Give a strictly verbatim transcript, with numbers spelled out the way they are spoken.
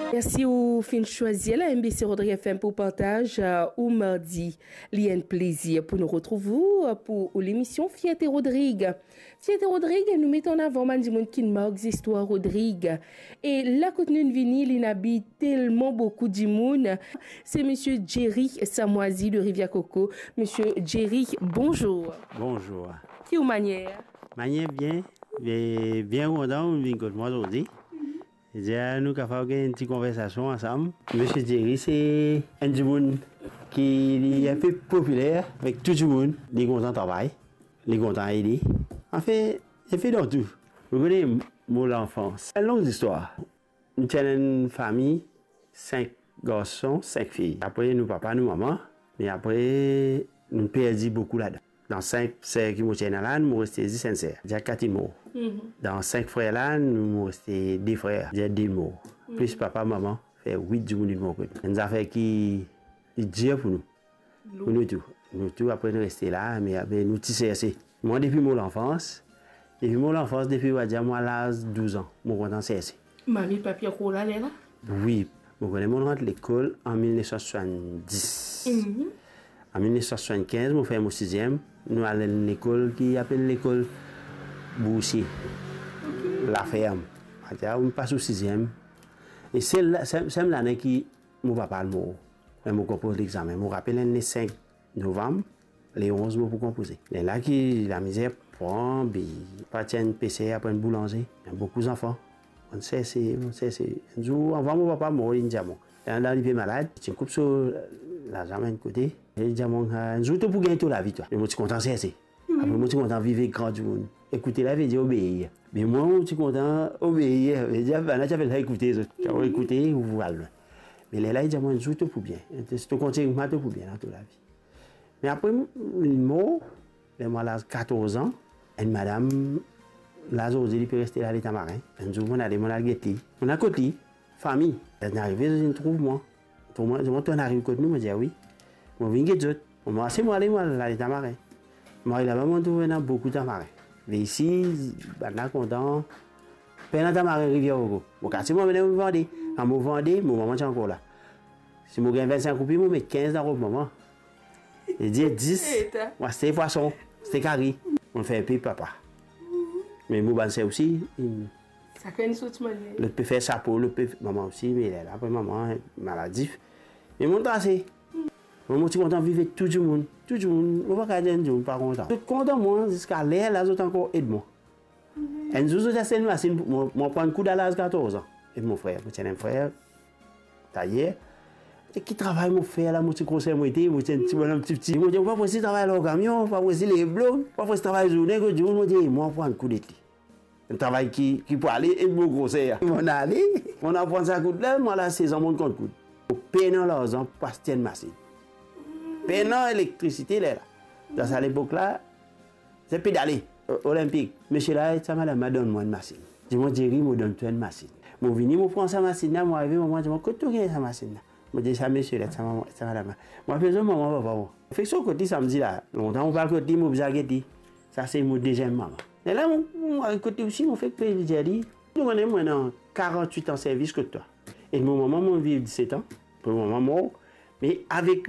Mersi ou finn swazir la M B C Rodrig F M pou partaz, euh, ou mardi. Li enn plezir pou nou retrouv ou, euh, pou ou lemision Fierte Rodrig. Fierte Rodrig, nou met an avan bann dimoun ki mark zistwar Rodrig. E la kot nou vini, li ena telman boukou dimoun. Se Misie Jerry Samwazi de Rivière Coco. Misie Jerry, bonzour. Bonzour. Ki ou manier? Manier bien, e bien kontan ou vinn kot mwa zordi. Dir nou kapav gagn enn ti konversasion ansam. Misie Jerry se enn dimoun ki li enpe popiler avek tou dimoun. Li kontan travay, li kontan ede. Anfin, li fer dan tou. Ou kone, mo lanfans. Enn long zistwar. Nou ti enn fami, sink garson, sink fi. Apre, nou papa, nou mama. Me apre, nou perdi boukou ladan. Dan sink ser ki mo ti ena la, mo reste zis enn ser. Dir kat inn mor. Mhm. Dan sink frer la, nou, mo reste de frer. Dir de mor. Mhm. Plis papa, mama, fer wit dimoun inn mor kot nou. Enn zafer ki, ki dir pou nou. Pou nou tou. Nou tou, apre nou reste la, me apre nou ti serse. Mwa, depi mo lanfans, depi mo lanfans, depi, va dir, mwa laz douz an, mo kontan serse. Mami, papi ankor la, lerla? Wi, mo kone mo rant lekol an mil nef san swasanndis. Mhm. An mil nef san swasannkinz, mo fer mo siziem, nou al enn lekol ki apel lekol Boursie, Laferm. Atia, mo pas ou siziem. E se la, se, se lane ki mo papa al mor. Me mo konpoz lexame. Mo rapel enn le sink novam, le onz mo pou konpoze. Lerla ki lamizer pran, be pa ti enn peser, apre enn boulanze. Ena boukou zanfan. Mo serse, mo serse. Enn zour, avan mo papa mor, li dir mwa, ena dan li pe malad, ti koup so lazam enn kote. Li dir mwa, enn zour to pou gagn to lavi twa. Me mo ti kontan serse. Apre mo ti kontan viv ek gran dimoun. Ekoute la vedir obeir. Me mwa, mo ti kontan obeir. Vedir, bann la ti apel sa ekoute zot. Ti ekoute, ou al lwin. Me lerla li dir mwa, enn zour to pou bien. Si to kontign koumsa, to pou bien dan to lavi. Me apre, li mor, ler mwa laz katorz an, enn madam, la zordi li pe reste la, Letamarin. Enn zour, mo ale, mo al get li. Mo al kot li, fami. Lerla arive, zot vinn trouv mwa. Trouv mwa, zot dir mwa, to inn ariv kot nou? Mo dir, wi. Mo vinn get zot. Mo marse, mo ale, mo al Letamarin. Mo ariv laba, mo trouv ena boukou tamarin. Ve isi, bann la kontan. Pena tamarin Rivière Coco. Mo kase, mo amenn, mo vande. Kan mo vande, mo mama ti ankor la. Si mo gagn vinn-sink roupi, mo met kinz dan rob mama. Li dir dis, mo aste pwason, aste kari. Mo fer enpe papa. Me mo bann ser osi, sakenn so ti manier. Lot pe fer sapo, lot pe, mama osi, me lerla apre mama maladif. Me mo trase. Mo, mo ti kontan viv ek tou dimoun. Tou dimoun, mo pa kapav dir enn dimoun pa kontan. Zot kontan mwa, ziska lerla zot ankor ed mwa. Enn zour, zot aste enn masinn pou mwa, mo pran koud a laz katorz an. Ek mo frer, mo ti ena enn frer, tayer. E ki travay mo fer la, mo ti groser mo ete, mo ti enn ti bonom tipti. Mo dir, mo pa pou esi travay lor kamion, mo pa pou esi lev blok, mo pa pou esi travay zourne kot dimoun, mo dir, mo pran koud ek li. Enn travay ki, ki pou ale ek mo groser. Mo ale, mo aprann sa koud la, mo al a sez an, mo konn koud. Mo pena larzan pou aste enn masinn. Pena elektrisite lerla. Dan sa lepok la, se pedale, o-, Olenpik. Misie la ek sa madam la donn mwa enn masinn. Dir mwa, Jerry, mo donn twa enn masinn. Mo vini, mo pran sa masinn la, mo arive, mama dir mwa, kot to gagn sa masinn la? Mo dir sa misie la, sa mama, sa madam la. Mo apel zot mama, papa mwa. Mo fek sot kot li samdi la. Lontan mo pa al kot li, mo bizin al get li. Sa se mo deziem mama. Lerla mo, mo ariv kot li osi, mo fek pe dir li, to kone mwa ena karant-wit an servis kot twa. Ek mo mama, mo viv diset an. Apre mo mama mor, me avek